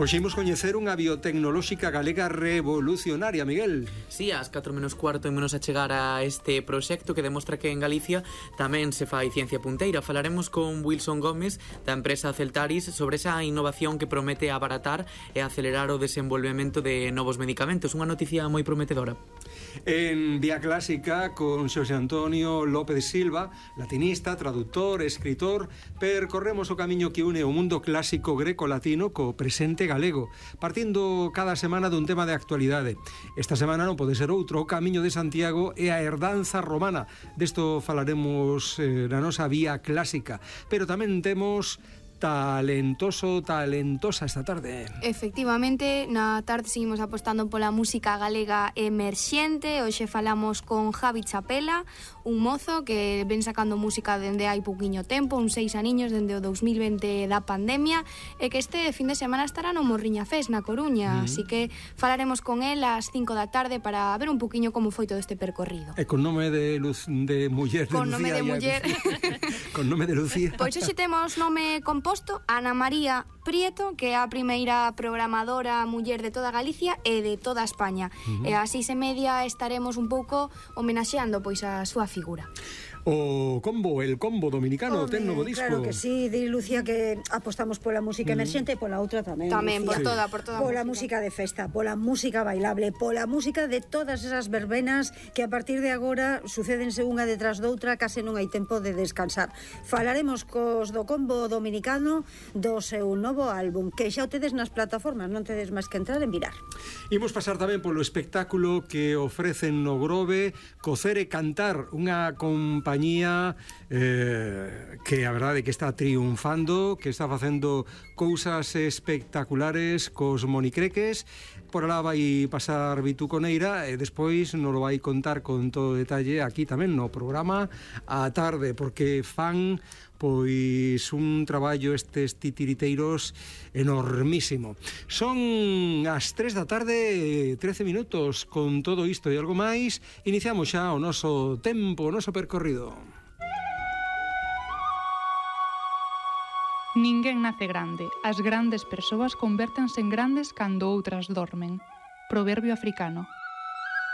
Hoxe imos coñecer unha biotecnolóxica galega revolucionaria, Miguel. Sí, ás 4:15 imos a chegar a este proxecto que demostra que en Galicia tamén se fai ciencia punteira. Falaremos con Wilson Gómez da empresa Celtaris sobre esa innovación que promete abaratar e acelerar o desenvolvemento de novos medicamentos. Unha noticia moi prometedora. En Vía Clásica, con Xosé Antonio López Silva, latinista, traductor, escritor, percorremos o camiño que une o mundo clásico greco-latino co presente galego, partindo cada semana dun tema de actualidade. Esta semana non pode ser outro, o Camiño de Santiago e a herdanza romana. Desto falaremos na nosa Vía Clásica, pero tamén temos talentosa esta tarde. Efectivamente, na tarde seguimos apostando pola música galega emerxente. Hoxe falamos con Javi Chapela, un mozo que ven sacando música dende hai pouquiño tempo, uns 6 aniños, dende o 2020 da pandemia, e que este fin de semana estará no Morriña Fest na Coruña, así que falaremos con el ás 5 da tarde para ver un pouquiño como foi todo este percorrido. E con nome de muller, de con Lucía. Nome de muller. Con nome de Lucía. Pois hoxe temos nome composto, Ana María Prieto, que é a primeira programadora muller de toda Galicia e de toda España. E ás 6:30 estaremos un pouco homenaxeando pois a súa figura. O combo, el combo dominicano, ten novo disco. Claro que sí, di Lucía que apostamos pola música emerxente e pola outra tamén. Tamén, Lucía. por toda pola música de festa, pola música bailable, pola música de todas esas verbenas que a partir de agora sucédense unha detrás doutra, case non hai tempo de descansar. Falaremos cos do combo dominicano do seu novo álbum, que xa o tedes nas plataformas, non tedes máis que entrar en mirar. Imos pasar tamén polo espectáculo que ofrecen no Grove, Cocer e Cantar, unha compañía que a verdade que está triunfando, que está facendo cousas espectaculares cos monicreques. Por alá vai pasar Vitu Coneira e despois nos lo vai contar con todo detalle aquí tamén no programa á tarde, porque fan pois un traballo estes titiriteiros enormísimo. Son as 3 da tarde, 13 minutos. Con todo isto e algo máis, iniciamos xa o noso tempo, o noso percorrido. Ninguén nace grande. As grandes persoas convértense en grandes cando outras dormen. Proverbio africano.